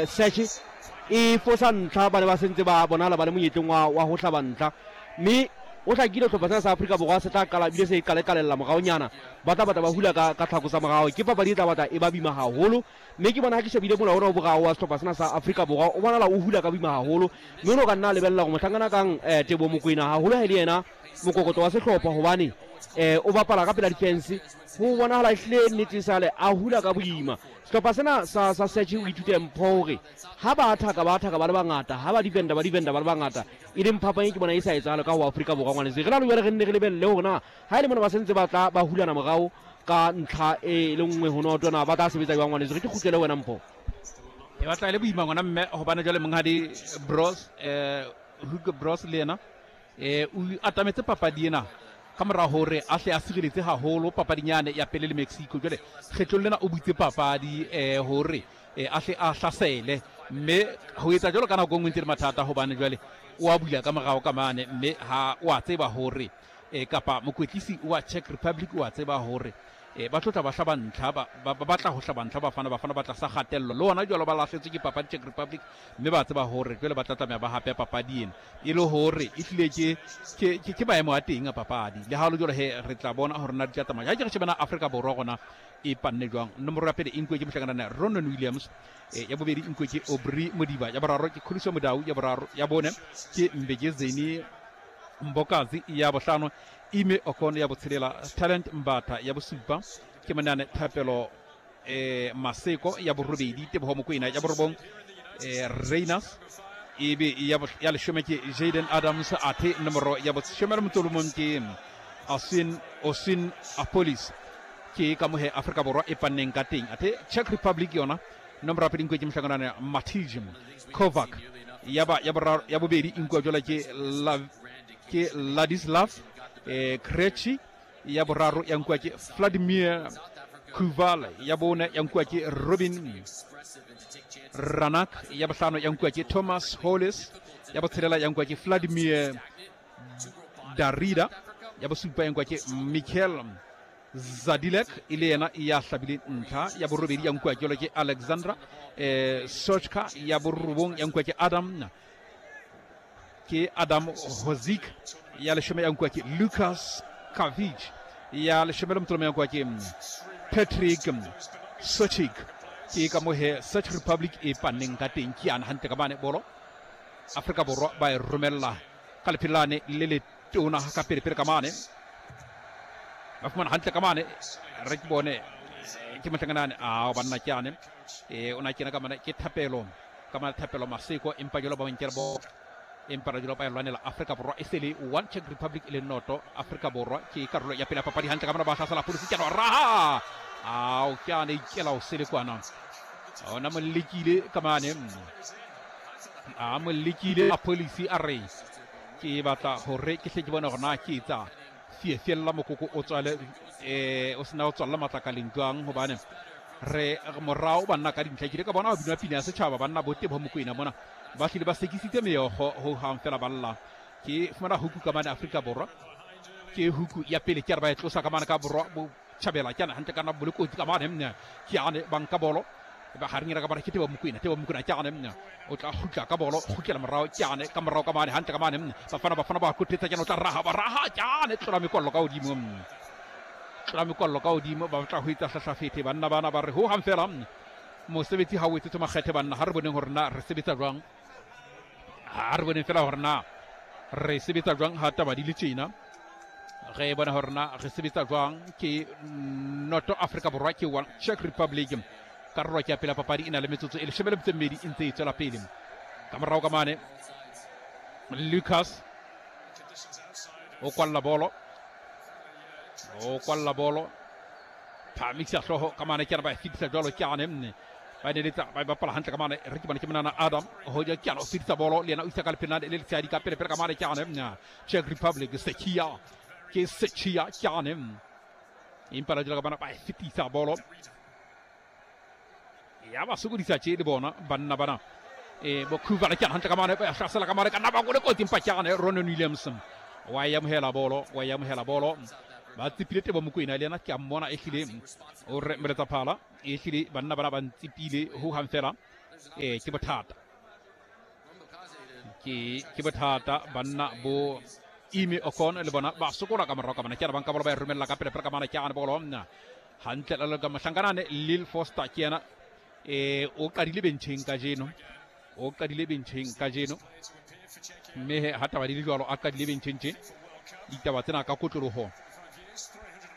Search e fosa ntlha, ba ne ba sentse ba bonala ba le monyetleng wa, wa ho hlaba ntlha, mme o hlakile hlopha sena sa Afrika Borwa se tla qala ebile se qale-qalella moraonyana, ba tla batla ba hula ka, ka tlhako tsa morao. Ke papadi e tla batla e ba boima haholo, mme ke bona ha ke shebile mola ona o boraro wa sehlopha sena sa Afrika Borwa o bonala o hula ka boima haholo, mme o ne o ka nna lebella hore mohlankana kang Teboho Mokoena haholo ha e le yena mokokotlo wa sehlopha, hobane o bapala ka pela difense, ho bonahala ehlile nnete sale a hula ka boima. Sehlopha sena sa, sa Search o ithute mpho hore ha ba athaka ba athaka ba le bangata, ha ba defender ba defender ba le bangata, e leng phapang e ke bona e sa etsahale ka ho Afrika Borwa. Ngwanetse re na le jwale re nne re lebelle hore na ha e le mona ba sentse ba tla ba hulana morao ka ntlha e le nngwe ho noto, na ba tla sebetsa jwang? Ngwanetse re ke kgutlele wena mpho. E batla e le boima ngwana mme, hobane jwale monghadi Bros, Hugo Bros le yena o atametse papadi ena ka mora hore a hle a sireletse haholo papadinyane ya pele le Mexico. Jwale kgetlong lena o butse papadi hore a hle a hlasele, mme ho etsa jwalo ka nako e nngwe ntse le mathata, hobane jwale o a bula ka morao ka mane, mme ha o a tseba hore kapa mokwetlisi wa Czech Republic o a tseba hore ba tlo tla ba hlaba ntlha, ba batla ho hlaba ntlha Bafana Bafana ba tlasa kgatello. Le hona jwalo ba lahletswe ke papadi Czech Republic, mme ba tseba hore jwale ba tla tlameha ba hape papadi ena, e le hore e hlile ke maemo a teng a papadi. Le ha le jwalo he, re tla bona hore na di tla tsamaya. Ha ke re shebana Afrika Borwa gona e panne jwang. Nomoro ya pele e nkuwe ke mohlankana Ronan Williams, ya bobedi e nkuwe ke Aubrey Modiba, ya boraro ke Khuliso Mudau, ya boraro ya bone ke Mbegezeni Mbokazi, ya bohlano Ime Okon, ya botshelela Talent Mbatha, ya bosupa ke monane Thapelo Maseko, ya borobedi Teboho Mokoena, ya borobong Reinas, ebe ya leshome ke Jaden Adams, athe nomoro ya boshome le motso mong ke Asin Osin Apolis. Ke ka mohe Afrika Borwa e panneng ka teng. Athe Czech Republic yona nomoro ya pele nkuwe ke mohlankana Matij Kovac, ya ba ya boraro ya bobedi nkuwa jwale ke la ke Ladislav Krejci, ya boraro ya nkuwa ke Vladimir Kuval, ya bone ya nkuwa ke Robin Ranak, ya bohlano ya nkuwa ke Thomas Hollis, ya botshelela ya nkuwa ke Vladimir Darida, ya bosupa ya nkuwa ke Michael Zadilek, e le yena ya hlabile ntlha. Ya borobedi ya nkuwa ke ke Alexandra Sochka, ya borobong ya nkuwa ke Adam Hozik, ya leshome ya nkuwa ke Lucas Kavic, ya leshome le motolo ya nkuwa ke Patrick Sochik. Ke ka mohe Czech Republic e panneng ka teng. Ke yana hantle ka mane bolo Afrika Borwa ba e romella ka lephelane le le tona ka pele pele ka mane, ba fumana hantle ka mane. Re ke bone ke mohlankana a banna ke ane o na kena ka mane ke Thapelo ka mane, Thapelo Maseko, empa jalo ba nkela bo, empa ra jalo ba e lwanela Afrika Borwa e sele 1 Czech Republic e le noto. Afrika Borwa ke karolo ya pele ya papadi hantle ka mane, ba hlasela polisi ke raha ao ke ane ikela o sele kwana, ona mo lekile ka mane, a mo lekile a polisi a re ke batla hore ke hle ke bone hore na ke etsa fiefiella mokoko o tswale o sena o tswalla matlakaleng jwang, hobane re morao banna ka dintlha. Ke ile ka bona ba bina pina ya setjhaba banna bo Teboho Mokoena mona ba hlile ba sekisitse meokgo ho hang fela ba lla. Ke fumana huku ka mane Afrika Borwa, ke huku ya pele ke re ba e tlosa ka mane ka borwa bo tjhabela, ke ana hantle ka nna bo le kotsi ka mane, mme ke ane ba nka bolo ba hareng ka mane ke Teboho Mokoena. Teboho Mokoena ke ane, mme o tla kgutla ka bolo, kgutlela morao ke ane ka morao ka mane hantle ka mane, mme Bafana ba kotetsa ke ane o tla raha, ba raha ke ane tlola mekwallo ka hodimo, tlola mekwallo ka hodimo, ba tla ho etsa hlahlafethe banna bana ba re ho hang fela mosebetsi ha o etsetse makgethe banna. Ha re boneng hore na re sebetsa jwang, ha re boneng fela hore na re sebetsa jwang ha taba di le tjena, re bona hore na re sebetsa jwang. Ke noto Afrika Borwa ke 1 Czech Republic. Karolo ke ya pele papadi e na le metsotso e leshome le metso e mmedi e ntse e tswela pele. Ka morao ka mane Lucas o kwalla bolo, o kwalla bolo, phamisa hlooho ka mane ke ba e fetisa jwalo ke ane mme ba neletsa ba bapala hantle ka mane. Re ke bone ke monana Adam hoja ke ane o fetisa bolo le yena o isa ka lephelana le letshehadi ka pele pele ka mane ke ane Czech Republic Sechia ke Sechia ke ane empa la jwalo ka bana ba e fetisa bolo ya ba sokodisa tje le bona banna bana bo Khuvala ke hantle ka mane ba hlasela ka mane ka nna ba go le kotsi empa ke ane Ronan Williams wa e amohela bolo, wa e amohela bolo. Ba tsepile Teboho Mokoena le yena ke a mmona ehlile o re meletsa phala ehlile banna bana ba ntsepile ho hang fela. Ee, ke bothata. Ke ke bothata banna bo Ime Okon le bona ba sokola ka morao ka mana ke ba nka bolo ba e romella ka pele pele ka mana ke ane bolo nna hantle le ka mohlankanane Lil Foster ke yena e o qadile bencheng kajeno o qadile bencheng kajeno mme ha taba di le jwalo a qadile bencheng tje ditaba tsena ka kotloloho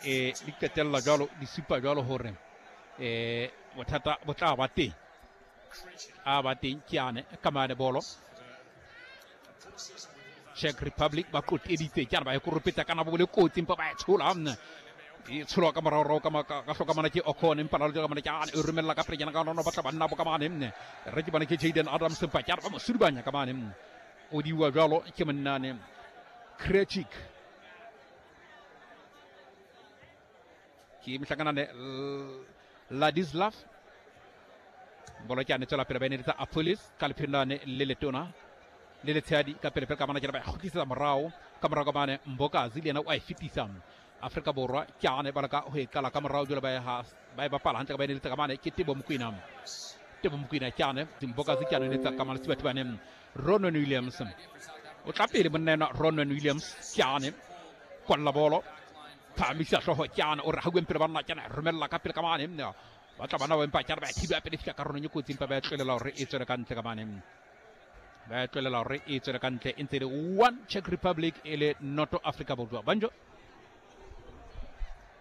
e di qetella jwalo di supa jwalo hore e bothata bo tla ba teng a ba teng ke ane ka mane bolo Czech Republic ba qoqeditse ke ba e koropetsa kana bo le kotsi empa ba e tshola e tsholwa ka moraorao ka hloka mana ke Ocon empa la ka mana ke ane e romella ka pele ka nono batla banna bo ka mane nne re ke bana ke Jaden Adams empa ke ba mo sudubanya ka mane o diwa jwalo ke monnane Krejcik ke mohlakanane Ladislav bolo ke ane tswela pele ba eneletsa Apolis ka lephelane le letona le letshehadi ka pele pele ka mana ke ba kgutlisetsa morao ka morao ka mane Mbokazi le yena o a e fetisa Afrika Borwa ke ane ba leka ho e qala ka morao jwale ba e ha ba e bapala hantle ka ba eneletsa ka mane ke Tebo Mokoena Tebo Mokoena ke ane Mbokazi ke ane eneletsa ka mane Sibatibane Ronan Williams o tla pele monna enwa Ronan Williams ke ane kwalla bolo phahamisa hlooho ke ane o re hauweng pele banna ke ane romella ka pele ka mane ba tla bana ba empa ke ane ba e thiba pele fihla karolong e kotsi empa ba e tlohela hore e tswele ka ntle ka mane ba e tlohela hore e tswele ka ntle e ntse e le one Czech Republic e le noto Africa Borwa banjo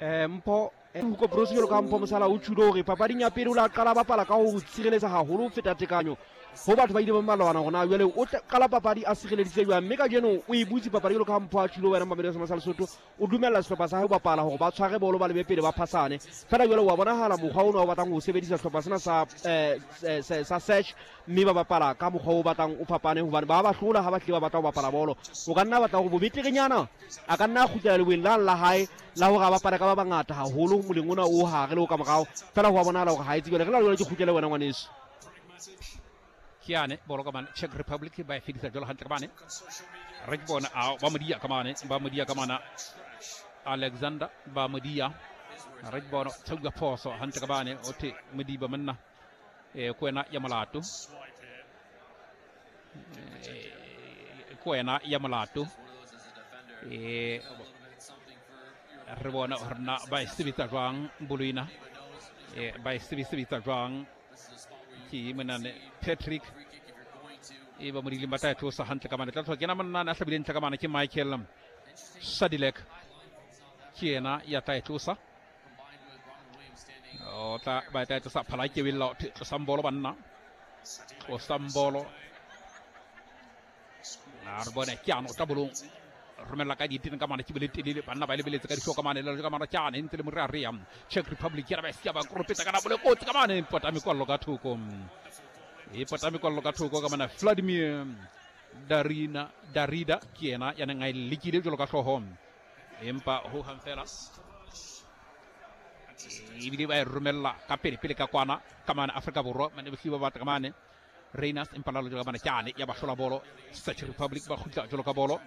Mpho Hugo Broos jwalo ka Mpho Mosala o tjhulo hore papading ya pele o la qala bapala ka ho tshireletsa haholo ho feta tekanyo ho batho ba ile ba malwana hore na jwale o qala papadi a sireleditse jwang mme kajeno o e butse papadi jwalo ka Mpho a tjhulo wena Mamelodi sa Lesotho o dumella sehlopha sa hae ho bapala hore ba tshware bolo ba lebe pele ba phasane fela jwale wa bonahala mokgwa ono o batlang ho sebedisa sehlopha sena sa sa search mme ba bapala ka mokgwa o batlang o fapane hobane ba ba hlola ha ba hlile ba batla ho bapala bolo o ka nna batla hore bobeterenyana a ka nna a kgutlela leweng la la hae la hore a bapale ka ba bangata haholo moleng ona o hare le o ka morao fela ho a bonahala hore ha e tsebe re la jwale ke kgutlele wena ngwaneso ke yane bolo ka mane Czech Republic ba e fedisa jwalo hantle ka mane re ke bona a ba modia ka mane ba modia ka mana Alexander ba modia re ke bona tshauka phoso hantle ka mane o the modiba monna e ko wena ya molato ko wena ya molato e re bona hore na ba e sebetsa jwang boloina e ba e sebetsa jwang ke monane Patrick e ba modileng ba tla e tlosa hantle ka mane tla tloha kena monane a hlabileng ntle ka mane ke Michael Sadilek ke yena ya tla e tlosa o tla ba tla tlosa phala ke wella tlosang bolo banna tlosang bolo a re bone ke ano tla bolong romella ka ditene ka mane ke bole telele banna ba lebeletse ka dihloko mane le ka mane ke ane ntse le more a rea Czech Republic ya ba sia ba koropetsa kana bole kotsi ka mane pota mekwallo ka thoko e pota mekwallo ka thoko ka mane Vladimir Darina Darida ke yena ya neng a e lekile jwalo ka hlooho empa ho hang fela ebile ba e romella ka pele pele ka kwana ka mane Afrika Borwa mane bohlile ba batla ka mane Reiners empa lalo jwalo ka mane ke ane ya ba hlola bolo Czech Republic ba kgutla jwalo ka bolo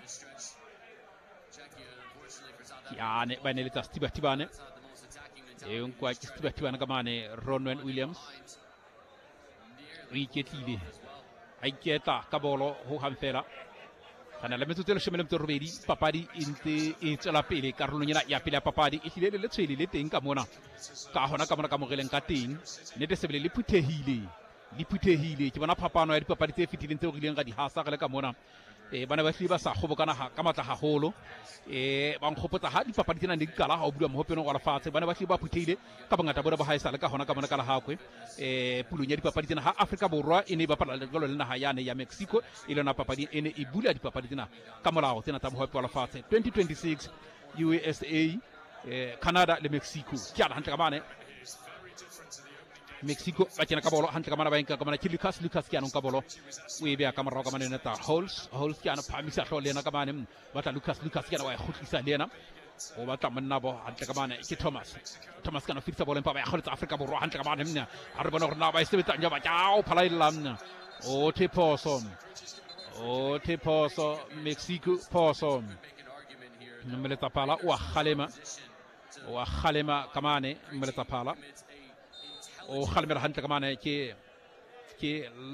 ke ane ba neletsa Setibatibane e nkwa ke Setibatibane ka mane Ronwen Williams o iketlile a iketla ka bolo ho hang fela re na le metsotso e leshome le metso e robedi papadi e ntse e tswela pele karolong ena ya pele ya papadi e hlile le letshwele le teng ka mona ka hona ka mona ka moreleng ka teng nnete sebele le phuthehile le phuthehile ke bona phapano ya dipapadi tse fetileng tseo re ileng ra di hasa re le ka mona e ba ne ba hlile ba sa kgobokana ka matla haholo e ba nkgopotsa ha dipapadi tsena ne di qala ha o bulwa mohopenong wa lefatshe ba ne ba hlile ba phuthehile ka bongata bona ba haesale ka hona ka mona ka lehakwe e pulong ya dipapadi tsena ha Afrika Borwa e ne e bapala jwalo le naha yane ya Mexico e le yona papadi e ne e bula dipapadi tsena ka molao tsena tsa mohope wa lefatshe 2026 USA Canada le Mexico ke ana hantle ka mane Mexico ba kena ka bolo hantle ka mana ba enka ka mana ke Lucas Lucas ke anong ka bolo o e beya ka morao ka mane neta Holes Holes ke ano phamisa hlooho le yena ka mane batla Lucas Lucas ke ana wa e kgutlisa le yena o batla monna bo hantle ka mane ke Thomas Thomas ke ano fetisa bolo empa ba ya kgoletsa Afrika Borwa hantle ka mane mna a re bone gore na ba e sebetsang jwa ba tjao phalaella mna o the phoso o the phoso Mexico phoso mmeletsa phala o a kgalema o a kgalema ka mane mmeletsa phala o kgalemela hantle ka mane ke Ke